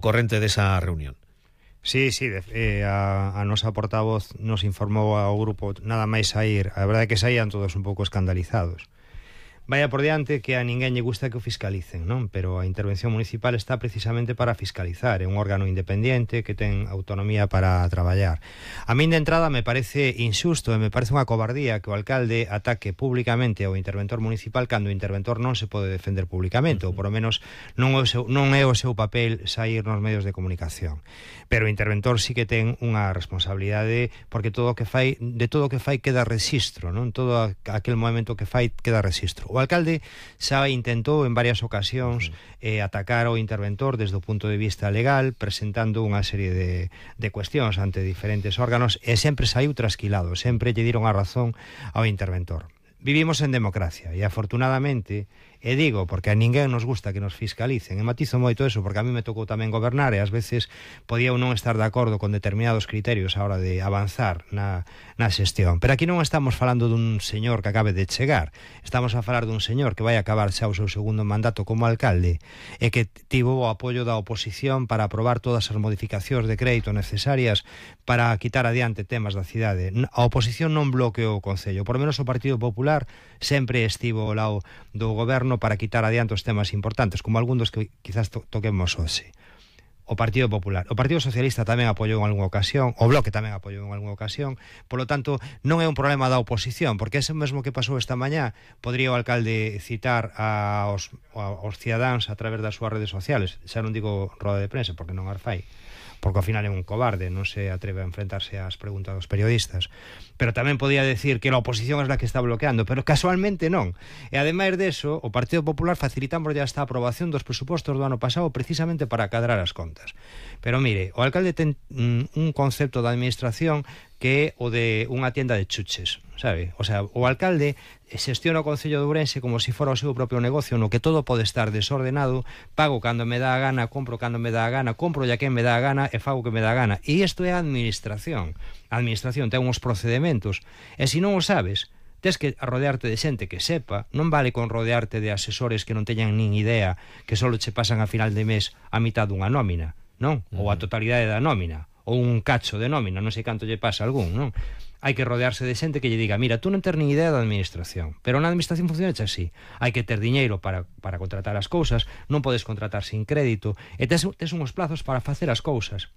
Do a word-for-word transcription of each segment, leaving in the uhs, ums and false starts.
corrente desa reunión. Sí, sí, de, eh, a, a nosa portavoz nos informou ao grupo nada máis saír. A verdade é que saían todos un pouco escandalizados. Vaya por diante que a ninguén lle gusta que o fiscalicen, non? Pero a intervención municipal está precisamente para fiscalizar. É un órgano independente que ten autonomía para traballar. A min de entrada me parece injusto e me parece unha cobardía que o alcalde ataque públicamente ao interventor municipal cando o interventor non se pode defender públicamente, ou por lo menos non, o seu, non é o seu papel sair nos medios de comunicación. Pero o interventor sí que ten unha responsabilidade, porque todo o que fai, de todo o que fai queda registro, non? Todo aquel momento que fai queda registro. O alcalde xa intentou en varias ocasións eh, atacar ao interventor desde o punto de vista legal, presentando unha serie de, de cuestións ante diferentes órganos, e sempre saiu trasquilado, sempre lle diron a razón ao interventor. Vivimos en democracia e afortunadamente, e digo porque a ninguén nos gusta que nos fiscalicen, e matizo moito eso porque a mí me tocou tamén gobernar e ás veces podía non estar de acordo con determinados criterios a hora de avanzar na, na xestión, pero aquí non estamos falando dun señor que acabe de chegar, estamos a falar dun señor que vai acabar xa o seu segundo mandato como alcalde e que tivo o apoio da oposición para aprobar todas as modificacións de crédito necesarias para quitar adiante temas da cidade. A oposición non bloqueou o Concello, por lo menos o Partido Popular sempre estivo ao lado do goberno para quitar adiante os temas importantes, como algún dos que quizás to toquemos hoxe. O Partido Popular. O Partido Socialista tamén apoiou en algunha ocasión, o Bloque tamén apoiou en algunha ocasión, polo tanto, non é un problema da oposición, porque ese mesmo que pasou esta mañá, podría o alcalde citar aos, aos cidadáns a través das súas redes sociales, xa non digo roda de prensa, porque non as fai, porque ao final é un cobarde, non se atreve a enfrentarse ás preguntas dos periodistas, pero tamén podía decir que a oposición é a que está bloqueando, pero casualmente non. E ademais deso, o Partido Popular facilitamos ya esta aprobación dos presupostos do ano pasado precisamente para cadrar as contas. Pero mire, o alcalde ten mm, un concepto da administración que é o de unha tienda de chuches, sabe? O sea, o alcalde xestiona o Concello de Ourense como se fora o seu propio negocio, no que todo pode estar desordenado, pago cando me dá a gana, compro cando me dá a gana, compro ya quen me dá a gana e fago que me dá a gana. E isto é a administración. A administración ten uns procedementos, e se non o sabes, tes que rodearte de xente que sepa, non vale con rodearte de asesores que non teñan nin idea, que só che pasan a final de mes a mitad dunha nómina, non? Ou a totalidade da nómina, ou un cacho de nómina, non sei canto lle pasa a algún, non? Hai que rodearse de xente que lle diga, mira, tú non ter nin idea da administración, pero na administración funciona así. Hai que ter diñeiro para, para contratar as cousas, non podes contratar sin crédito, e tes, tes uns plazos para facer as cousas.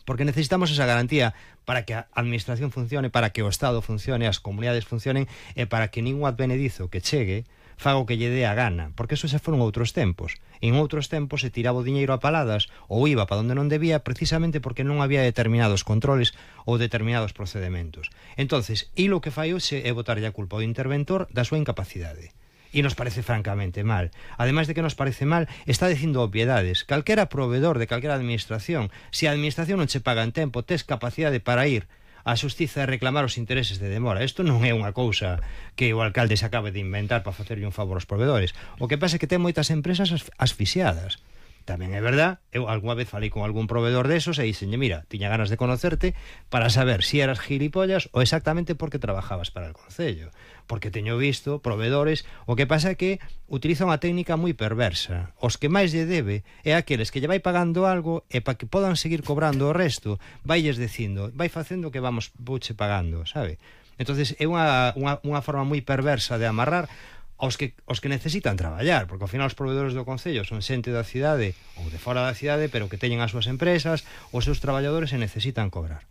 Porque necesitamos esa garantía para que a administración funcione, para que o Estado funcione, as comunidades funcionen, e para que ningún advenedizo que chegue faga o que lle dé a gana, porque eso xa foron outros tempos. En outros tempos se tiraba o diñeiro a paladas ou iba para onde non debía precisamente porque non había determinados controles ou determinados procedementos. Entonces, e lo que fai hoxe é botarlle a culpa ao interventor da súa incapacidade. E nos parece francamente mal. Ademais de que nos parece mal, está dicindo obviedades. Calquera proveedor de calquera administración, se a administración non che paga en tempo, tes capacidade para ir a xustiza e reclamar os intereses de demora. Isto non é unha cousa que o alcalde se acabe de inventar para facerlle un favor aos proveedores. O que pasa é que ten moitas empresas asfixiadas. Tamén é verdad, eu algunha vez falei con algún proveedor desos e dixenlle, mira, tiña ganas de conocerte para saber si eras gilipollas ou exactamente porque trabajabas para el Concello. Porque teño visto proveedores, o que pasa é que utiliza unha técnica moi perversa. Os que máis lle debe é aqueles que lle vai pagando algo e para que podan seguir cobrando o resto, vailles dicindo, vai facendo que vamos vouche pagando, sabe? Entonces é unha, unha, unha forma moi perversa de amarrar aos que, os que necesitan traballar, porque ao final os proveedores do Concello son xente da cidade ou de fora da cidade, pero que teñen as súas empresas, os seus traballadores e necesitan cobrar.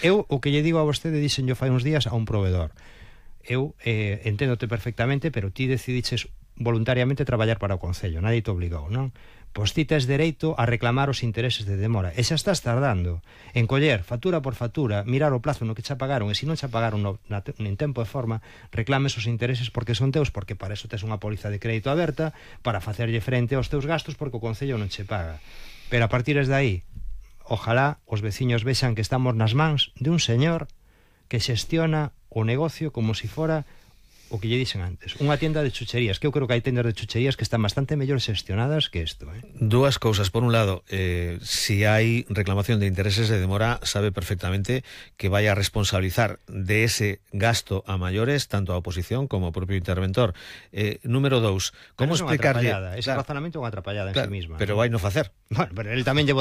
Eu, o que lle digo a vostede, dixen yo fai uns días a un proveedor, eu eh, enténdote perfectamente, pero ti decidiches voluntariamente traballar para o Concello, nadie te obligou, non? Pois ti tes dereito a reclamar os intereses de demora, e xa estás tardando en coller factura por factura, mirar o plazo no que xa pagaron, e se non xa pagaron no, na, en tempo e forma, reclames os intereses porque son teus, porque para eso tes unha póliza de crédito aberta para facerlle frente aos teus gastos porque o Concello non che paga. Pero a partir de aí, ojalá os veciños vexan que estamos nas mans de un señor que xestiona o negocio como se fora o que lle dixen antes, unha tienda de chucherías, que eu creo que hai tendas de chucherías que están bastante mellor xestionadas que isto, eh? Dúas cousas, por un lado, eh, si hai reclamación de intereses de demora, sabe perfectamente que vai a responsabilizar de ese gasto a maiores tanto a oposición como o propio interventor. Eh, número dous, como explicarlle... Ese claro, razonamento é unha atrapallada en claro, sí misma. Pero vai no facer. Bueno, pero ele tamén lle vota